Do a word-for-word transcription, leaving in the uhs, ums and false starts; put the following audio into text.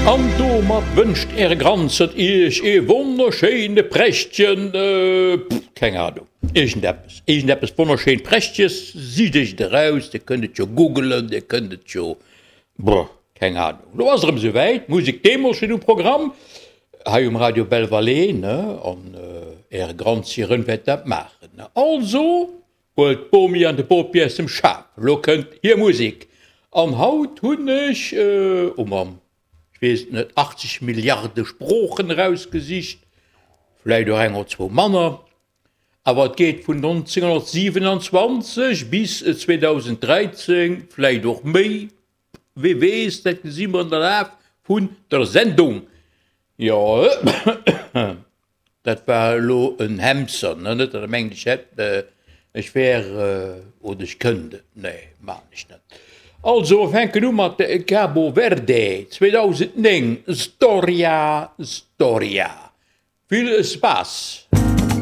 An domat wënscht Äre Granzert Iech ee wonnerschéine prächtegen, keng Ahnung, iergendeppes, iergendeppes wonnerschéin Prächteges. Sicht Iech et eraus, Dir kënnt et jo googelen, Dir kënnt et jo, brr, keng Ahnung. Lo ass et erëm esouwäit, Musek deemools steet um Programm hei um Radio Belval, ne, an Äre Granzieren wäert dat maachen, ne. Also, huelt d'Bomi an de Bopi aus dem Schaf, lo kënnt hir Musek. An haut hunn ech, oh Mamm, ech weess et net, achtzeg Milliarde Sproochen erausgesicht, vläicht och eng oder zwou manner, awer et geet vun nonzénghonnertsiwenanzwanzeg bis zweedausenddräizéng, vläicht och méi, wee weess, dat gesi mer an der Laf vun der Sendung. Jo, dat war elo en Hemser, ne? Net, datt Der mengt, ech hätt, ech wär oder ech kënnt et. Nee, maachen ech net. Also, mer fänken u mat Cabo Verde, zweedausendnéng, Storia, Storia. Vill Spaass!